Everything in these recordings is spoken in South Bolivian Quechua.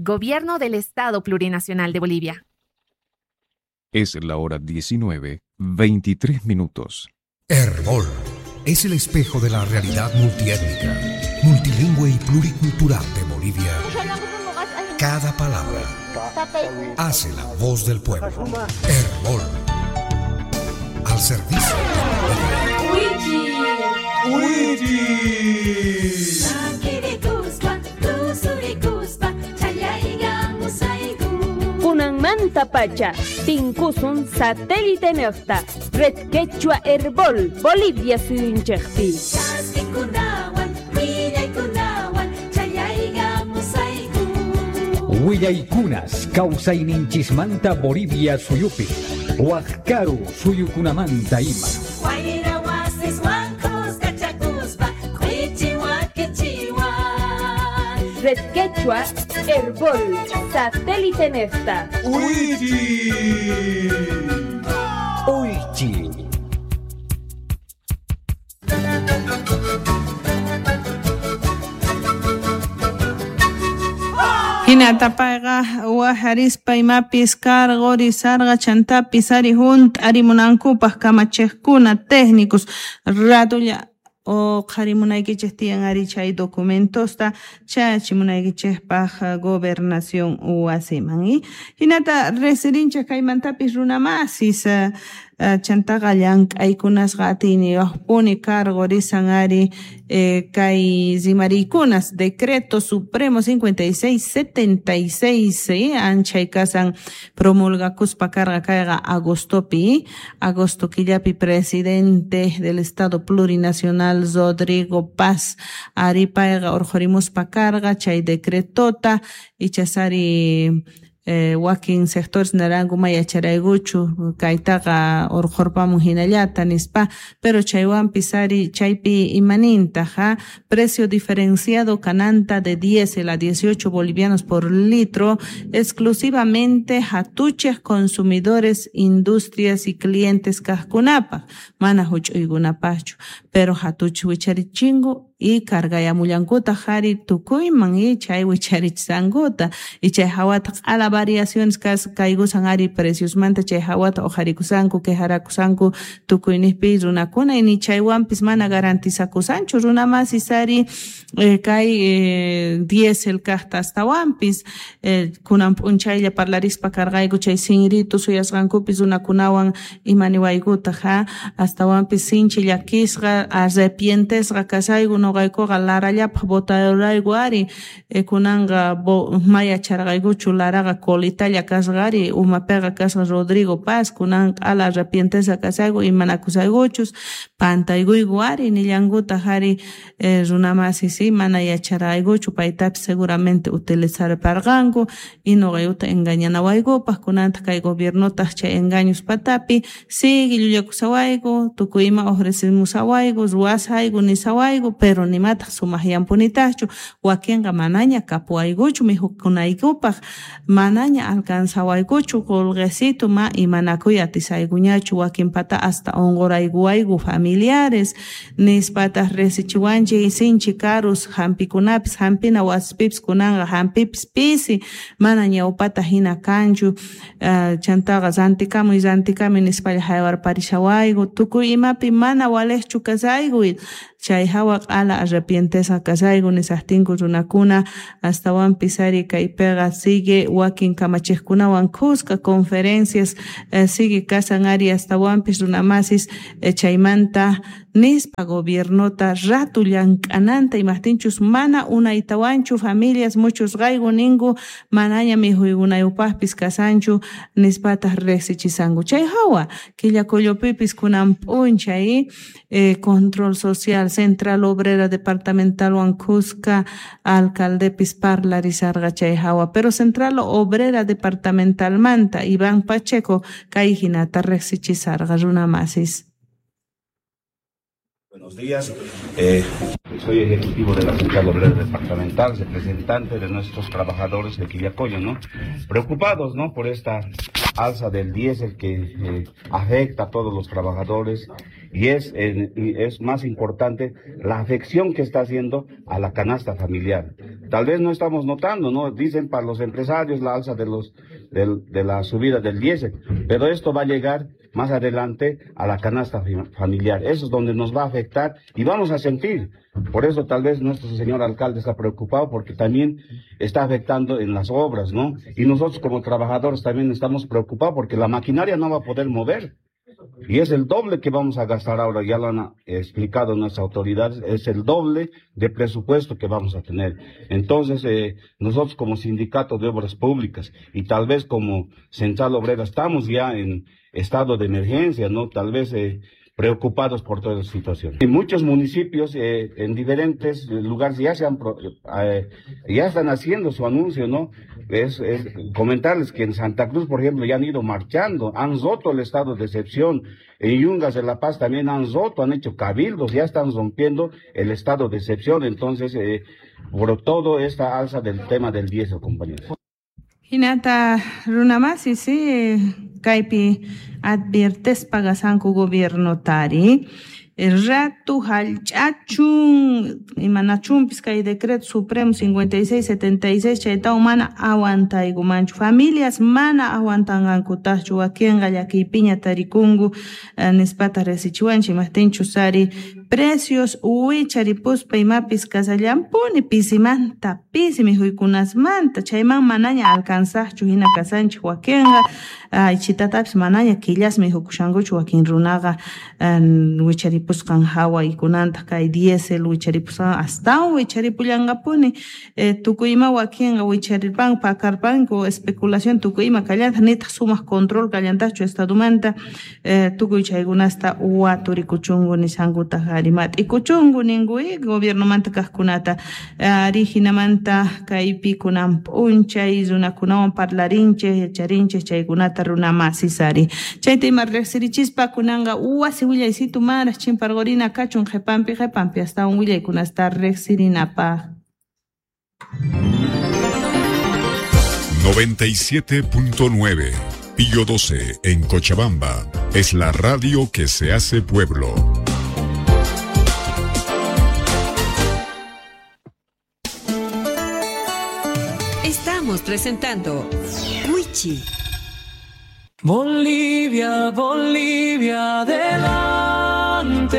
Gobierno del Estado Plurinacional de Bolivia. Es la hora 19, 23 minutos. Herbol es el espejo de la realidad multiétnica, multilingüe y pluricultural de Bolivia. Cada palabra hace la voz del pueblo. Herbol. Al servicio de Bolivia. Kunanmanta pacha, tinkusun satélite nefta, Red Quechua Herbol, Bolivia suyunchejpi. Willaykunas kawsayninchismanta Bolivia suyupi, Huajcaru suyukunamanta ima. Red Quechua Herbol, satélite nefta. ¡Uichi! ¡Uichi! Hinata payqa wajarispa imapis karqurisarqa chantapis ari hunt'arimunankupaq kamachiqkuna técnicos ratulla uqharimunaykichik tiyan ari chay documentosta chayachimunaykichikpaq gobernación wasiman. Hinata resirinchik kaymantapis runamasis chantaqa llank'aykunasqa atiyniyuqpuni karqurisan ari kay rimariykunas Decreto Supremo 5676 anchay kasan promulgakuspa karqa kayqa agostopi, agosto killapi presidente del Estado Plurinacional Rodrigo Paz ari payqa urqhurimuspa karqa chay decretota ichasari wakin sectores naranku may yacharaykuchu kaytaqa urqhurpamun hinallata nispa, pero chaywanpis ari chaypi imanintaj ja precio diferenciado kananta de diésel a 18 bolivianos por litro exclusivamente hatuchej consumidores, industrias y clientes kajkunapaj mana huch'uykunapajchu, pero hatuch wicharichingu y cargayamullankutaj ari tukuyman y chay wicharichisqankuta y chay hawata q'ala variaciones kaykusan ari preciosmanta chay hawata uqharikusanku quejarakusanku tukuyniqpi runakuna y ni chaywanpis mana garantizakusanchu runamasis ari kay diésel kajta astawanpis kunan p'unchaylla parlarispa karqayku chay sinritu suyasqankupis runakunawan imaniwaykutaj ja astawanpis sinchi llakisqa arrepientesqa kasayku noqaykuqa Larallapaq votarayku ari kunanqa mayacharqaykuchu Laraqa colitalla kasqa ari umapiqa kasqa Rodrigo Paz kunan q'ala arrepientesqa kasayku imanakusaykuchus pantaykuyku ari nillankutaj ari runamasis mana yacharqaykuchu paytapis seguramente utilizarparqanku y noqaykuta engañanawaykupaq kunantaq kay gobiernotaq chay engaños patapi sigue llullakusawayku tukuy ima ofrecimusawayku ruwasayku nisawayku pero nimataq sumaqyanpunitaqchu wakinqa manaña kapuwaykuchu mikhukunaykupaq manaña alcanzawaykuchu qullqisitu ma imanakuy atisaykuñachu wakinpata hasta unquraykuwayku familiares nispataq risichiwanchik sinchi karus hampikunapis hampina wasipipis kunanqa hampipis pisi mana ñawpata hina kanchu chantaqa rantikamuy rantikamuy nispalla haywarparishawayku tukuy imapi mana waliqchu kasayku chay hawa q'ala arrepientesqa kasayku nisaqtinku runakuna astawanpis ari kaypiqa sigue wakin kamachiqkunawan kuska conferencias sigue kasan ari astawanpis runamasis chaymanta nispa gobiernota ratu llank'ananta imaqtinchus mana unaytawanchu familias muchos qayku ninku manaña mikhuykunayupaqpis kasanchu nispataq riqsichisanku chay hawa Quillacollopipis kunan p'unchay control social Central Obrera Departamentalwan kuska alcaldepis parlarisarqa chay hawa pero Central Obrera Departamentalmanta Iván Pacheco kay hinata riqsichisarqa runamasis. Buenos días, soy ejecutivo de la Central Obrera Departamental, representante de nuestros trabajadores de Quillacollo, ¿no? Preocupados, ¿no?, por esta alza del diésel que afecta a todos los trabajadores Y es más importante la afección que está haciendo a la canasta familiar. Tal vez no estamos notando, ¿no? Dicen para los empresarios la alza de la subida del diésel, pero esto va a llegar más adelante a la canasta familiar. Eso es donde nos va a afectar y vamos a sentir. Por eso tal vez nuestro señor alcalde está preocupado, porque también está afectando en las obras, ¿no? Y nosotros como trabajadores también estamos preocupados porque la maquinaria no va a poder mover. Y es el doble que vamos a gastar ahora, ya lo han explicado nuestras autoridades, es el doble de presupuesto que vamos a tener. Entonces, nosotros como sindicato de obras públicas y tal vez como Central Obrera estamos ya en estado de emergencia, ¿no? Tal vez preocupados por toda esa situación. En muchos municipios, en diferentes lugares, ya están haciendo su anuncio, ¿no? Es comentarles que en Santa Cruz, por ejemplo, ya han ido marchando, han roto el estado de excepción. En Yungas de La Paz también han roto, han hecho cabildos, ya están rompiendo el estado de excepción. Entonces, por todo esta alza del tema del diésel, compañeros. Hinata runamasi, sí, kaypi adviertespa gasanku gobierno tari. Ratu hallch'achun imanachunpis kay decreto supremo 5676 chaytawan mana aguantaykumanchu, familias mana aguantanqankutaqchu, wakinqa llakiypiña tarikunku nispata resichiwanchik, imajtinchus ari precios wicharipuspa imapis kasallanpuni pisimanta pisi mikhuykunasmanta, chayman manaña alcanzaqchu hina kasanchik wakinqa aychitatapis manaña killas mikhukushankuchu wakin runaqa wicharipusqan hawa ikunantaq kay diésel wicharipusqan astawan wicharipullanqapuni tukuy ima wakinqa wicharirpanku pakarpanku especulación tukuy ima kallantaq nitaq sumaq control kallantaqchu estadomanta tukuy chaykunasta waturikuchunku nishankutaq ari mat'ikuchunku ninku gobiernomanta kaqkunata ari hinamanta kaypi kunan p'unchay runakunawan parlarinchik yacharinchik chaykunata runamasis ari chayta ima riqsirichispa kunanqa wasi willaysitu manaraq chimparqurina kachun qhipanpi qhipanpi astawan willaykunasta riqsirinapaq. 97.9 Pío 12 en Cochabamba es la radio que se hace pueblo. Estamos presentando Wichi. Bolivia, Bolivia, adelante.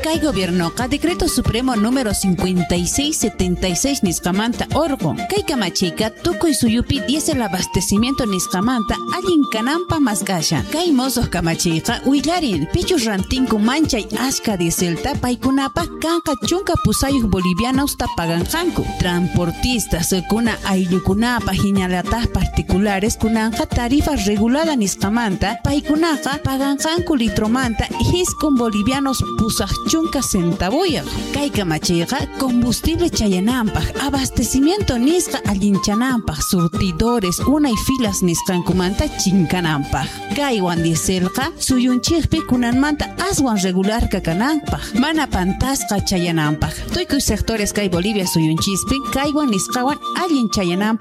Kay gobiernoqa decreto supremo número 5676 nisqamanta orqun. Kay kamachiyqa tukuy suyupi diésel abastecimiento nisqamanta allin kananpaq mask'ashan. Kay mosuq kamachiyqa willarin pichus rantinku manchay ashka dieselta paykunapaq kanqa 18 bolivianos paganqanku. Transportistas kuna ayllukunapaq hinallataq particulares kunanqa tarifa regulada nisqamanta paykunaqa paganqanku litromanta 9 bolivianos 80 centavuyaq. Kay kamachiyqa combustible chayananpaq, abastecimiento nisqa allinchananpaq, surtidores unay filas nisqankumanta chinkananpaq. Kaywan dieselqa suyunchikpi kunanmanta aswan regular kananpaq, mana pantasqa chayananpaq. Tukuy sectores kay Bolivia suyunchispi kaywan nisqawan allin chayananpaq.